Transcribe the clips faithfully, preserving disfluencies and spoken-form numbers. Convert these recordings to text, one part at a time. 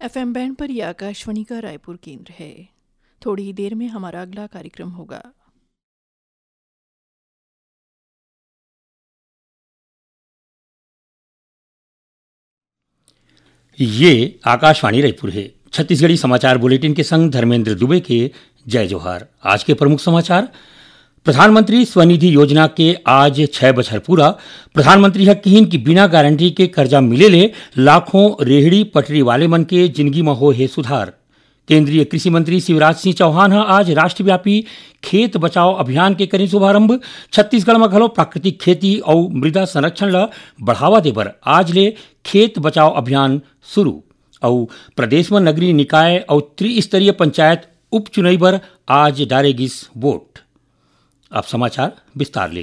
FM band पर यह आकाशवाणी का रायपुर केंद्र है। थोड़ी ही देर में हमारा अगला कार्यक्रम होगा। ये आकाशवाणी रायपुर है। छत्तीसगढ़ी समाचार बुलेटिन के संग धर्मेंद्र दुबे के जय जोहार। आज के प्रमुख समाचार। प्रधानमंत्री स्वनिधि योजना के आज छह बछर पूरा। प्रधानमंत्री ह किहिन कि बिना गारंटी के करजा मिले ले लाखों रेहड़ी पटरी वाले मन के जिनगी म होए हे सुधार। केंद्रीय कृषि मंत्री शिवराज सिंह चौहान ह आज राष्ट्रव्यापी खेत बचाओ अभियान के करिन शुभारंभ। छत्तीसगढ़ म घलो प्राकृतिक खेती अउ मृदा संरक्षण ल बढ़ावा देबर आज ले खेत बचाओ अभियान शुरू। अउ प्रदेश म नगरीय निकाय अउ त्रिस्तरीय पंचायत उपचुनई बर आज डारे गिस वोट। अब समाचार विस्तार ले।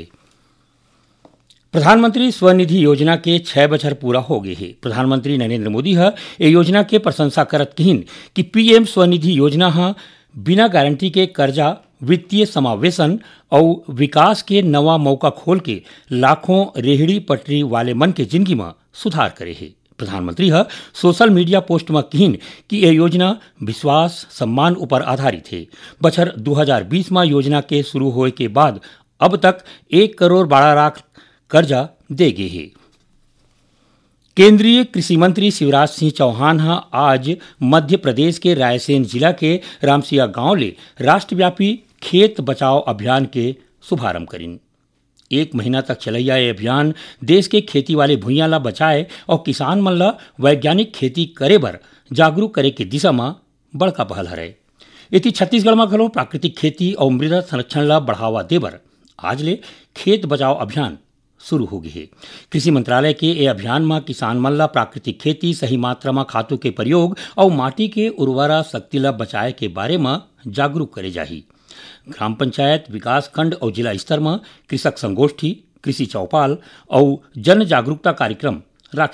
प्रधानमंत्री स्वनिधि योजना के छह बछर पूरा हो गए हे। प्रधानमंत्री नरेंद्र मोदी ह ए योजना के प्रशंसा करत किहिन कि पीएम स्वनिधि योजना ह बिना गारंटी के करजा, वित्तीय समावेशन अउ विकास के नवा मौका खोल के लाखों रेहड़ी पटरी वाले मन के जिनगी म सुधार करे हे। प्रधानमंत्री ह सोशल मीडिया पोस्ट म किहिन कि ए योजना विश्वास, सम्मान ऊपर आधारित हे। बछर दू हजार बीस म योजना के शुरू होए के बाद अब तक एक करोड़ बारह लाख करजा दे गे हे। केंद्रीय कृषि मंत्री शिवराज सिंह चौहान ह आज मध्य प्रदेश के रायसेन जिला के रामसिया गांव ले राष्ट्रव्यापी खेत बचाओ अभियान के शुभारंभ करिन। एक महीना तक चलइया ये अभियान देश के खेती वाले भुइयां ला बचाए अउ किसान मन ला वैज्ञानिक खेती करे बर जागरूक करे के दिशा म बड़का पहल हरय। एती छत्तीसगढ़ म घलो प्राकृतिक खेती अउ मृदा संरक्षण ला बढ़ावा देबर आज ले खेत बचाओ अभियान शुरू हो गे हे। कृषि मंत्रालय के ए अभियान म किसान मन ला प्राकृतिक खेती, सही मात्रा म खातू के प्रयोग अउ माटी के उर्वरा शक्ति ला बचाए के बारे म जागरूक करे जाही। ग्राम पंचायत, विकास खंड अउ जिला स्तर म कृषक संगोष्ठी, कृषि चौपाल अउ जन जागरूकता कार्यक्रम